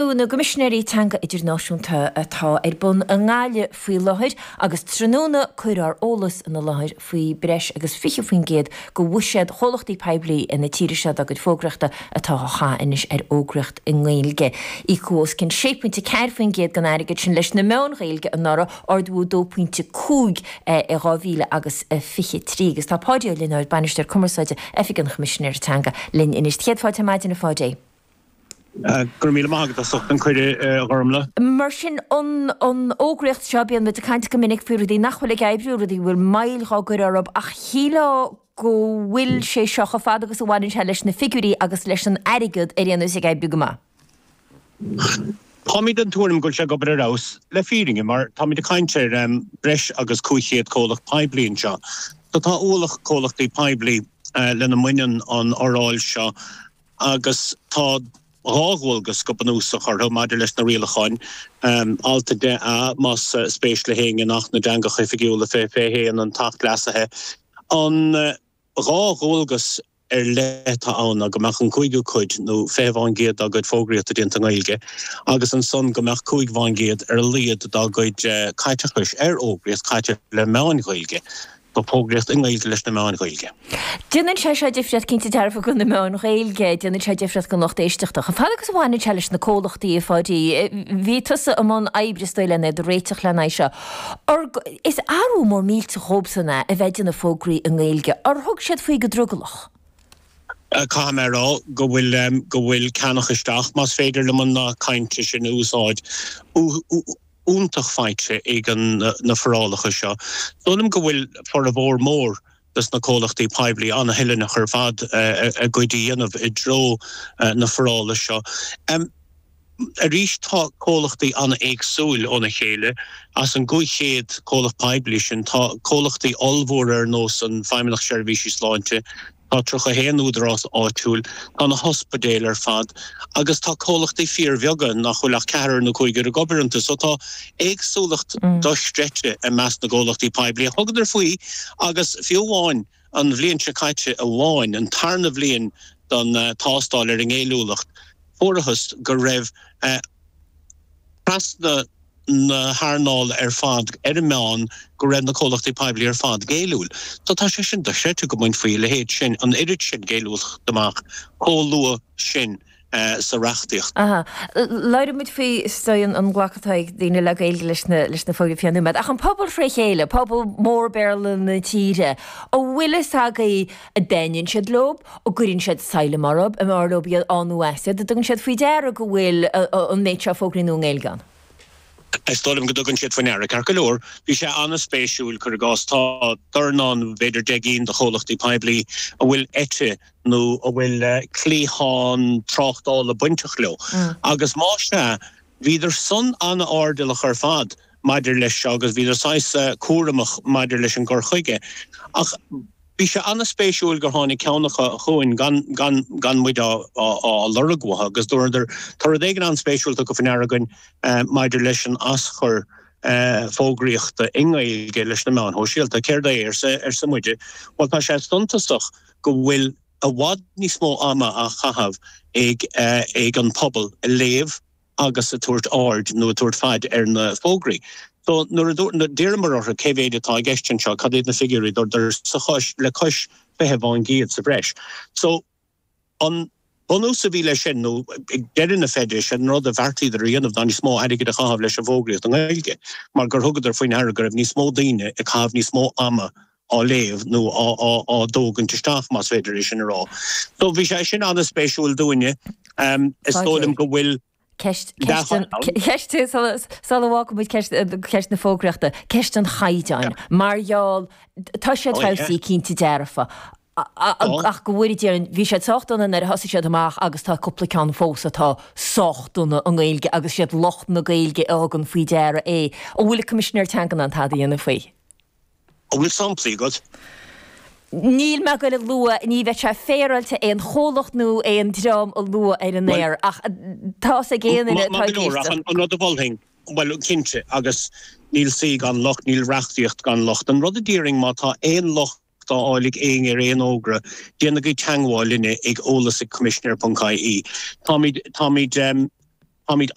na gCoimisinéirí Teanga Idirnáisiúnta atá ar bun i nGaillimh faoi láthair agus tráthnóna cuireadh ár eolas ina láthair faoi breis agus 20% de bhuiséad chomhlachtaí poiblí na tíre seo dá gcuid fógraíochta atá á chaitheamh anois ar fhógraíocht i nGaeilge. Íocadh os cionn 6.4% den airgead sin leis na meáin Ghaeilge anuraidh, ardú 2.5 i 2000 agus 23. Agus tá Páidí Ó Lionáird, Bainisteoir Cumarsáide, Oifig an Choimisinéara Teanga, linn anois. Céad fáilte ar maidin a Pháidí. Go raibh míle maith agat as ucht an cuireadh, a Ghormlaith. Mar sin, an fhógraíocht seo, bíonn muid ag caint go minic faoi rudaí nach bhfuil ag oibriú, rudaí a bhfuil moill dhá gcur orthu, ach shílfeá go bhfuil sé seo, chomh fada agus a bhaineann sé leis na figiúirí agus leis an airgead, ar aon nós ag oibriú go maith. Táimid den tuairim go bhfuil sé ag obair ar fheabhas, le fírinne, mar táimid ag caint ar breis agus 500 comhlacht poiblí anseo. So tá ualach comhlachtaí poiblí lena mbaineann an fhoráil seo. agus tá 2 dhualgas go bunúsach orthu maidir leis na rialacháin, Alt 10A, más spéis le héinne, in Acht na dTeangacha Oifigiúla 2021, an tAcht Leasaithe. An 2 dhualgas ar leith atá ann ná go mbeadh an cúigiú cuid, nó 20% dá gcuid fógraíochta déanta i nGaeilge, agus ansan go mbeadh 5% ar a laghad dá gcuid caiteachais ar fhógraíocht caite le meáin Ghaeilge. Tá fógraíocht i nGaeilge leis na meáin Ghaeilge. Déanann sé seo difríocht cinnte dearfa do na meáin Ghaeilge, déanann sé difríocht don lucht éisteachta. Chomh fada agus a bhaineann sé leis na comhlachtaí, a Pháidí, bhí tusa i mbun oibre is dóigh lena iad a réiteach lena aghaidh seo. Is athrú mór millteach dhóibhsan é a bheith ag déanamh fógraí i nGaeilge. Ar thug siad faoi go drogallach? Caithfidh mé a rá go bhfuil, go bhfuil ceannach isteach, más féidir liom an nath cainte sin a úsáid, iontach faighte ag na forálacha seo. Dóigh liom go bhfuil formhór mór dos na comhlachtaí poiblí an-thoilteanach ar fad a gcuid a dhéanamh i dtreo na forála seo. Arís tá comhlachtaí an-éagsúil óna chéile. As an 500 comhlacht poiblí sin tá comhlachtaí ollmhóra ar nós an Feidhmeannacht Seirbhísí Sláinte, Tá 31 údarás áitiúil, tá na hospidéil ar fad agus tá comhlachtaí fíorbheaga nach bhfuil ach ceathrar nó cúigear ag obair iontu. So tá éagsúlacht dochreidte i measc na gcomhlachtaí poiblí a thugadar faoi agus fiú amháin an bhliain seo caite amháin, an tarna bhliain don tástáil ar an ngéilliúlacht, fuarathas go raibh trasna na hearnála ar fad ar an meán go raibh na comhlachtaí poiblí ar fad géilliúil. So tá sé sin dochreidte go mbainfí a leithéid sin, an oiread sin géilliúlachta amach chomh luath sin sa reachtaíocht. Aha. Labhróidh muid faoi is dóigh an glacadh atá ag daoine le Gaeilge leis na leis na fógraí faoi cheann nóiméad. Ach an pobal fré chéile, pobal mór Béarla na tíre, an bhfuil fhios agaibh an dtaitníonn siad leo, an gcuireann siad saileam orthu, an mb'fhearr leo iad á nó as iad, an dtugann siad faoi deara go bhfuil an méid seo fógraí nua i nGaeilge ann? Is dóigh liom go dtugann siad faoi ndeara. Ceart go leor, bhí sé an-spéisiúil, cuir i gcás, tá dornán, b'fhéidir 10 gcinn de chomhlachtaí poiblí a bhfuil eite nó a bhfuil cliathán tráchtála bainteach leo agus más ea, bhíodar san an-airdeallach ar fad maidir leis seo agus bhíodar saghas cúramach maidir leis an gcur chuige. Ach bhí sé an-spéisiúil gur tháinig ceann acu chugainn gan, gan, gan muid á, á, á lorg uathu agus dúradar, tá rud éigin an-spéisiúil tugtha faoi ndeara againn maidir leis an aschur fógraíochta i nGaeilge leis na meáin shóisialta. Céard é? arsa, arsa muide. Bhuel, tá sé suntasach go bhfuil i bhfad níos mó ama á chaitheamh ag, ag an pobal ag léamh, agus ag tabhairt aird nó ag tabhairt faid ar na fógraí. So nuair a d'iarramar orthu cé mhéid atá i gceist anseo, cad iad na figiúirí, dúradar sa chois, le cois 20% sa bhreis. So an bunús a bhí leis sin, nó ag deireadh na feide, sé an rud a bheartaíodar a dhéanamh ná níos mó airgid a chaitheamh leis an bhfógraíocht i nGaeilge mar gur thugadar faoi ndeara go raibh níos mó daoine ag caitheamh níos mó ama á léamh nó á dtógaint isteach, más féidir é sin a rá. So bhí sé sin an-spéisiúil dúinne. Is dóigh liom go bhfuil Ceist, ceist, sula bhfágfaidh muid ceist, ceist na fógraíochta, ceist an chaighdeáin. Mar gheall, tá siad feabhsaithe cinnte dearfa, ach go bhfóire Dia orainn, bhí siad sách dona nuair a thosaigh siad amach agus tá cúpla ceann fós atá sách dona i nGaeilge agus siad lucht na Gaeilge a thugann faoi deara é. An bhfuil an Coimisinéir Teanga in ann tada a dhéanamh faoi? An bhfuil samplaí agat? Níl mé ag goil a lua, ní bheadh sé féaráilte aon chomhlacht nó aon dream a lua ar an aer, ach tá's ag aon duine atá ag éisteacht. An rud a mholfainn, bhuel, cinnte, agus níl saoi gan locht, níl reachtaíocht gan locht. An rud a déarfainn, má tá aon locht á fháil ag éinne ar aon fhógra, déanaigí teagmháil linne ag eolas ag coimisinéir ponc ie. Táimid, táimid. Táimid.